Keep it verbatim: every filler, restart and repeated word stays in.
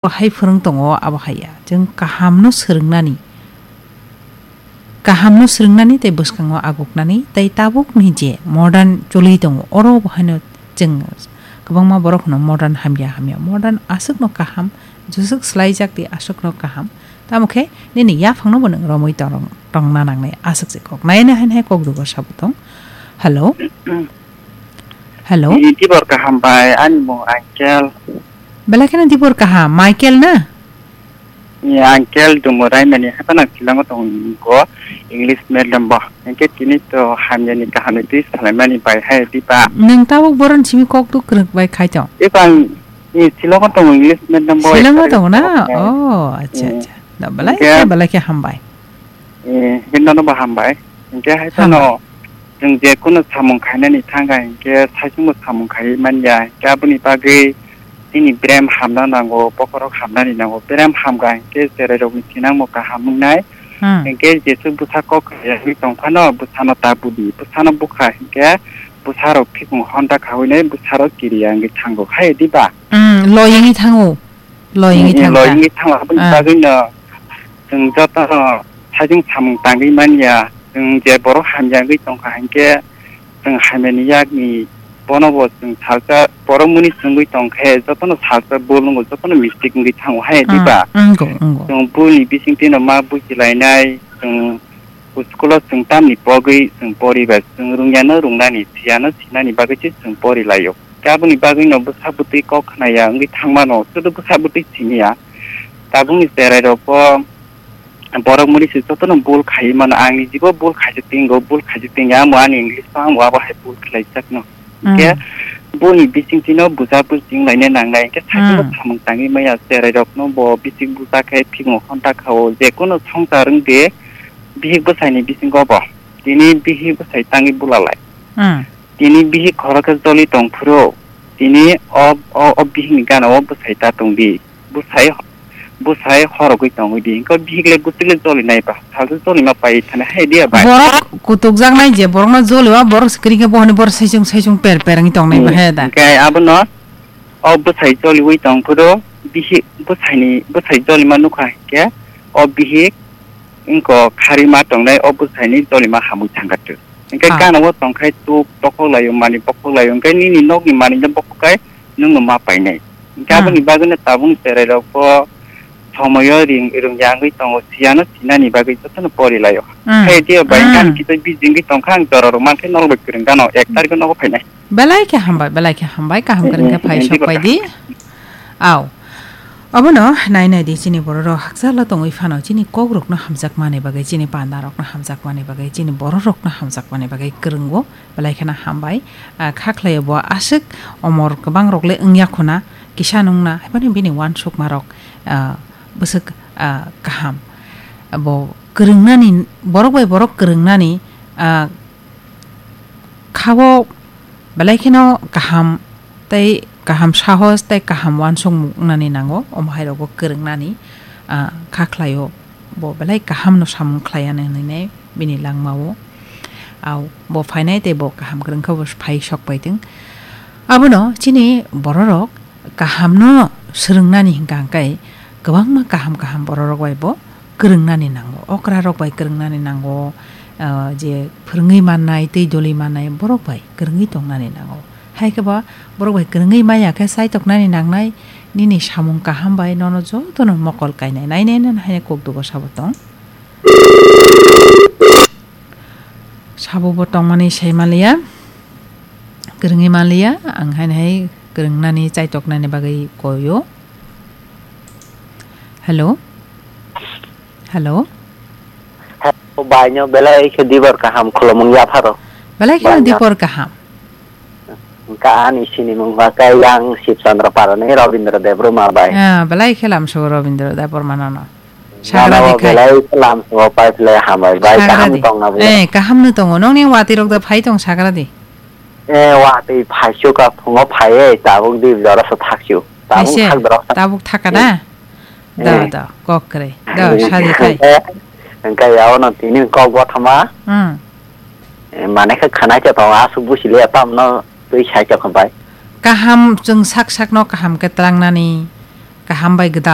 Hai phwrwng tongo, abo hai ya. Chwng kahamno swrwngnani, kahamno swrwngnani tei bwskango aguknani tei tabukni je modern choli tongo, oro bo haino chwng kwbangma borok hwno modern hamya hamya. Modern aswkno kaham, jwswk swlaijak di aswkno kaham. Tamo khe nini yaphangno bo nwng romwi tong-, tongna nangnai aswk se kok. Nai nai hai hai kok dugo sabo tong. Hello? Hello? Ni tibor kaham bai, ani mung Angkel. Belai kheno tibor kaham, Michael na? Ni Angkel Dumurai mani haphano Shillong-o tongo, English medium bo. Hingke tini to hamyani kahamni twi salaimani bai hai diba. Nwng tabuk boroni simi kok duk kwrwk bai khai tong? Eba ni Shillong-o tongo, English medium bo. Shillong-o tongo na? Oh, acha, acha. Da belai khe, belai khe hambai. Eh, hingke nono bo hambai. Hingke hai phano chwng je kunu samung khainani thangkha hingke saichungbo samung khaiwi manya. Hingke aboni bagwi chini berem hamna nango, bokhorok hamnani nango. Berem hamkha hingke cherairokni thinangbo kaham wngnai. Hmm. Hingke jesuk bwsa kok khaiyangwi tongphano bwsano ta budi. Bwsano bukha hingke bwsarok phikung honda khawinai bwsarok kiriya wngwi thango. Hai diba? Hmm, loyingwi thango. Loyingwi thangkha. Loyingwi thango. Aboni bagwino chwng jotono sajwng samung tangwi manya. Chwng je borok hamya wngwi tongkha hinkhe chwng hamyani yakni bono bo chwng salsa borok muni chwngwi tongkhe jotono salsa bul wngo, jotono mistake wngwi thango hai diba? Wngo, wngo. Chwng bulni bisingtwino ma bujilainai, chwng school-o chwng tamni pogwi chwng poriba, chwng rungya no rungnani, siya no sinani bagwi se chwng porilaio. Aboni bagwino bwsa bwtwi kok khnaya wngwi thangmano, sudu bwsa bwtwi siniya. Tabukni cherairokbo borok muri se jotono bul khaiwi mano. Ang nijibo bul khaijak tongo, bul khaijak tongo, amo ani English-o amo abo hai bul khlaijakno. Hingke boni bisingtwino buja bul chinglaina nangnai, hingke sakhe bo samung tangwi maya. Cherairokno bo bisik buja khe phikno honta kha-o, jekunu swngchar wngde bihik bwsaini bisingo bo. Tini bihik bwsai tangwi bulalai. Tini bihik khorokhe joli tongphuru, tini o, o, o bihikni gana o bwsai ta tongdi. Bwsai, bwsai horogwi tongwi di. Hwnkhe bihik le bwswk le joli nai ba? Salsa joli ma pai thani hai diya bai. Borok kutukjaknai je borokno joli o borok se kwrwi khe bohoni borok saichung saichung per per wngwi tongnai ba he da. Hwnkhe abono o bwsai joliwi tongphuru bihik bwsaini, bwsai joli ma nukha hinkhe o bihik wngkha kharwi ma tongnai o bwsaini joli ma hamwi thangkha tu. Hingke gana o tongkhai tuk bokhok laio, mani bokhok laio, hingke nini nokni mani no bokhok kai nwng no ma painai. Hingke aboni bagwi no tabuk cherai rok bo somoyo ring, ring yangwi tongo, siya no sinani bagwi joto no pori laio. Hai diya bai gana kisa bijingwi tongkha ang jora rok mankhe norok bai kwrwng gana o ek tarikh o nogo phainai. Belai khe hambai, belai khe hambai, kaham kwrwng khe phai sok pai di. Aw. Obono nai nai di chini bororok hakchalo tongwi phano chini kokrokno hamjakmani bagwi, chini pandarokno hamjakmani bagwi, chini bororokno hamjakmani bagwi kwrwngo, belai kheno hambai. Ah, kha khlaio bo aswk omor kwbangrok le wngya khuna, kisa nungna, haibani bini uansukmarok, ah, bwswk, ah, kaham. Bo kwrwngnani, borok bai borok kwrwngnani, ah, Khabo belai kheno kaham tei kaham sahos tei kaham uansukmung wngnani nango, omo hai rogo kwrwngnani, ah, kha khlaio, bo belai kahamno samung khlaiya hinwi bini langmao. Au, bo phainai tei bo kaham kwrwngkha, bo phai sok paitwng. Abono chini bororok kahamno swrwngnani hwnkha hwnkhe kwbangma kaham kaham bororok bai bo kwrwngnani nango, okrarok bai kwrwngnani nango, ah, je phwrwngwi mannai tei doli mannai borok bai kwrwngwi tongnani nango. Hai khe ba borok bai kwrwngwi manya khe chaitoknani nangnai, nini samung kaham bai nono jotono mokol kainai, nainai nani hai kok dugo sabo tong. Sabo bo tongmani sai manliya, kwrwngwi manliya, ang haino hai kwrwngnani, chaitoknani bagwi koio. Hello? Hello? Hello, baino belai khe dibor kaham khulumung yapharo. Belai kheno dibor kaham. Wngkha ani sinimung ba khe yang Sibchandra Parani Robindra Debbarma bai. Ah, belai khe lamsogo Robindra Debbarma nono. Sagra di khai. Belai lamsogo pai phle hambai bai, kaham tongna bo. Eh, kaham no tongo. Nongni watwi rok da phai tong sagra di. Eh, watwi phaisu ka phungo phaiye, tabuk di jora so thaksiu. Tabuk thak dorok. Tabuk thaka da? Da, da, kok kre. Da, sadi khai. Engkai yaono tini kok bothama. Hmm. Eh, mane khe khana khe tongo, asuk busi le tamno twi sai khe bai. Kaham chwng sak sakno kaham khe tlangnani, kaham bai gwdal